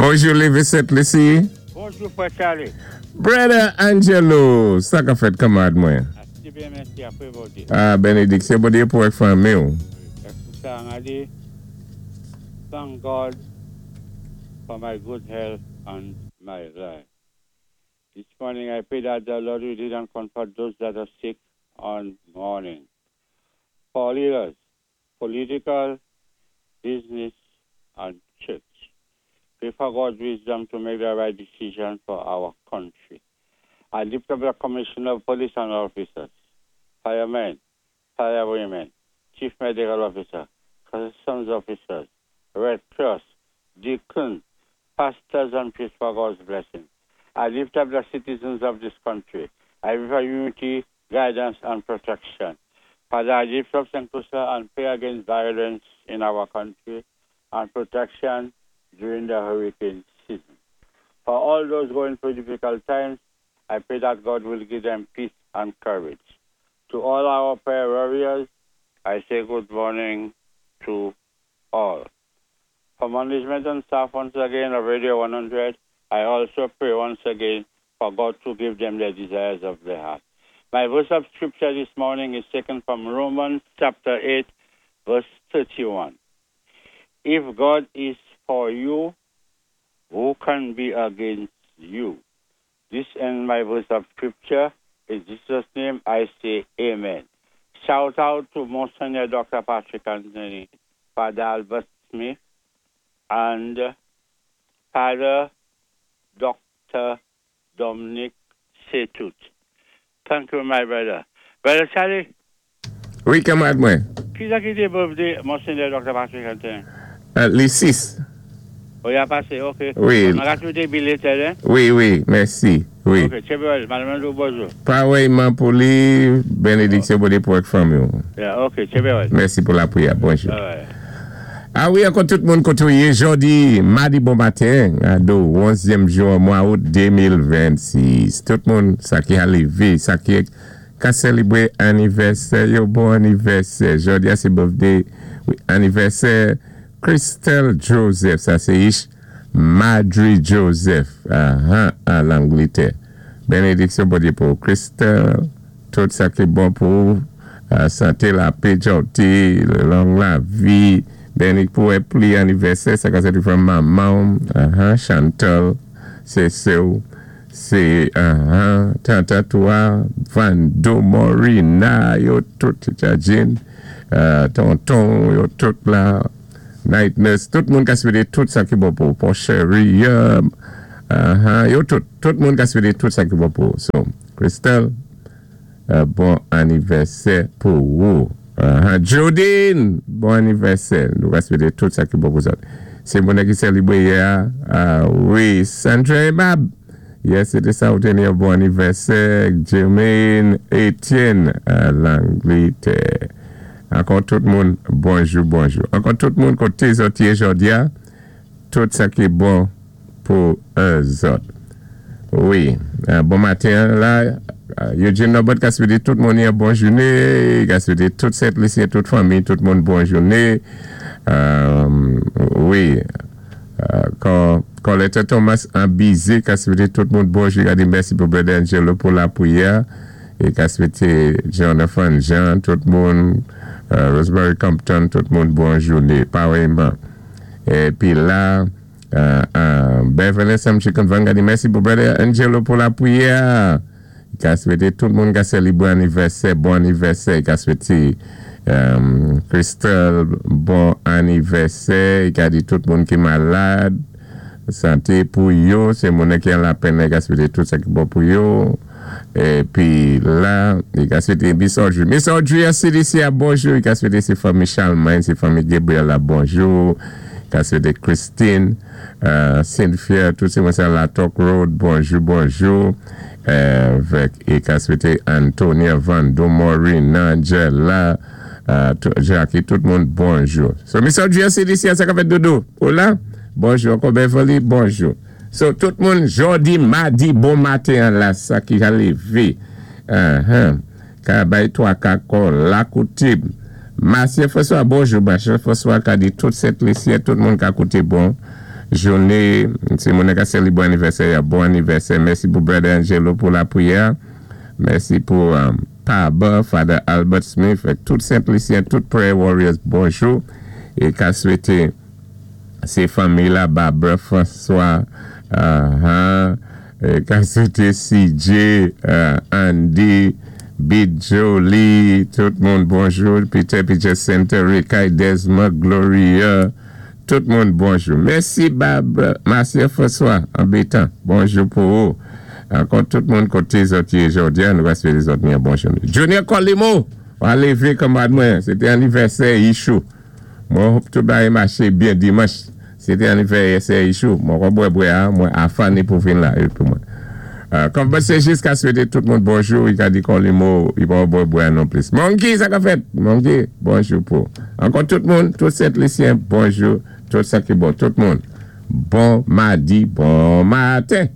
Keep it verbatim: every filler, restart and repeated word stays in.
Bonjou, Lévi Saint-Lucie. Bonjou, Frè Charlie. Brother Angelo, sa ka fèt, kanmarad mwen? Ase byen, mèsi, apwé Bondyé. Ah, benediksyon Bondyé pou èk fanmi ou. Pou sa, an di, thank God for my good health and my life. This morning I pray that the Lord will lead and comfort those that are sick and mourning. For leaders, political, business, and church. Pray for God's wisdom to make the right decision for our country. I lift up the Commissioner of Police and officers, firemen, firewomen, Chief Medical Officer, Customs officers, Red Cross, deacons, pastors and priests for God's blessing. I lift up the citizens of this country. I pray for unity, guidance, and protection. Father, I lift up Saint Lucia and pray against violence in our country and protection during the hurricane season. For all those going through difficult times, I pray that God will give them peace and courage. To all our prayer warriors, I say good morning to all. For management and staff once again of Radio one hundred, I also pray once again for God to give them the desires of their heart. My verse of scripture this morning is taken from Romans chapter eight, verse thirty-one. If God is for you, who can be against you? This ends my verse of scripture. In Jesus' name I say amen. Shout out to Monsignor Doctor Patrick Anthony, Father Albert Smith, and Father Doctor Dominic Setut. Thank you, my brother. Brother Charlie. Wi, kanmarad mwen. Ki sa ki té birthday Monsignor Doctor Patrick Anthony? Euh, li sis. Oh, i a pasé, ok. Wi. An ka swété belated, hein? Wi, wi, mèsi. Wi. Ok, tchébé, madame, bonjou. Parèyman pou li, benediksyon Bondyé pou èk fanmi. Yeah, ok, tchébé. Mèsi pou lapwiyè. Bonjou. All right. Ah wi, ankò tout moun koté ou yé, jòdi, madi bon maten, ado, onzyèm jou mwa out de mil vennsis. Tout moun, sa ki a lévé, sa ki ka sélébwé anivèsè, yo bon anivèsè. Jòdi a sé birthday, wi, anivèsè Christelle Joseph, sa sé ich Madry Joseph, ah, ah, a Langlétè. Benediksyon Bondyé pou Christelle, tout sa ki bon pou euh, santé, lapè, jòté, long lavi, béni pou pli anivèsè, sa ka sé from manman, uh Chantal, sé sè, sé uh tante toi, Vando Morina, yo tout, Jajin, euh, tonton, yo tout la, night nurse, tout moun ka swété tout sa ki bon pou, pou Sherry, uh, uh, yo tout, tout moun ka swété tout sa ki bon pou. So, Christelle, euh, bon anivèsè pou ou. Uh, Jodine, bon anivèsè. Nou ka swété tout sa ki bon pou sa. Sé moun ki sélébwé yè. Uh, wi, Sandra Ebab. Yes, sété sa ou téni yon bon anivèsè. Jermaine Etienne, uh, Langlétè. Ankò tout moun, bonjou, bonjou. Ankò tout moun koté zòt yé jòdi a, tout sa ki bon pou zòt. Wi, euh, bon maten la, euh, Eugene Norbert ka swété tout moun yon bon jouné, ka swété tout Sent Lisyen, tout fanmi, tout moun bon jouné. Euh, wi, euh, kan Colette Thomas an Bizé ka swété tout moun bonjou, ka di mèsi pou Brother Angelo pou lapwiyè, é ka swété Jonathan Jean, tout moun, euh, Rosemary Compton, tout moun bon jouné, parèyman. Épi la, euh, euh, Beverly Sam Chicken Van ka di mèsi pou Brother Angelo pou lapwiyè. Ka swété tout moun ka sélébwé anivèsè, bon anivèsè, ka swété euh, Christelle, bon anivèsè, ka di tout moun ki malad, santé pou yo, sé moun ki an lapenn, ka swété tout sa ki bon pou yo. Épi la, i ka swété Miss Audrey. Miss Audrey a C D C a bonjou, i ka swété sé fanmi Charlemagne, sé fanmi Gabriel la bonjou. Ka swété Christine, euh, Cynthia, tout sé moun sa la Talk Road, bonjou, bonjou. Euh, vèk, é ka swété Antonia Vando, Maureen, Angela, euh, tout- Jackie, tout moun bonjou. So, Miss Audrey a C D C a sa ka fèt dodo. Hola, bonjou, ankò Beverly, bonjou. So, tout moun, jòdi, madi, bon maten la, sa ki a lévé. Uh-huh. Ka bay twa kako, la koutib. Masye François, bonjou, Masye François ka di tout Sent Lisyen, tout moun ka kouté bon. Jouné, sé moun ka sélébwé anivèsè, bon anivèsè. Mèsi pou Brother Angelo pou lapriyè. Mèsi pou um, Paba, Father Albert Smith, tout Sent Lisyen, tout Prayer Warriors, bonjou. É ka swété sé fanmi la, Barbara François, uh, huh, é ka swété C J, uh, Andy, Big Jolie, tout moun bonjou, Peter Peter Center, Rikai Desmond, Gloria, tout moun bonjou. Mèsi Barbara, Marcia François, anbétan, bonjou pou ou. Ankò tout moun koté zòt yé jòdi a, nou va swété zòt ni bonjou. Junior Colimo, wa lévé kanmarad mwen, sété anivèsè Ichou. Mwen hope tout bagay maché byen dimanch. Sété anivèsè Ichou. Mwen kon bwè bwè a, mwen afané pou vin la pou mwen. Euh, kòm sé jis ka swété tout moun bonjou, i ka di Colimo, i pa bwè bwè non plis. Monkey, sa ka fèt? Monkey, bonjou pou. Ankò tout moun, tout Sent Lisyen, bonjou, tout sa ki bon, tout moun. Bon madi, bon maten.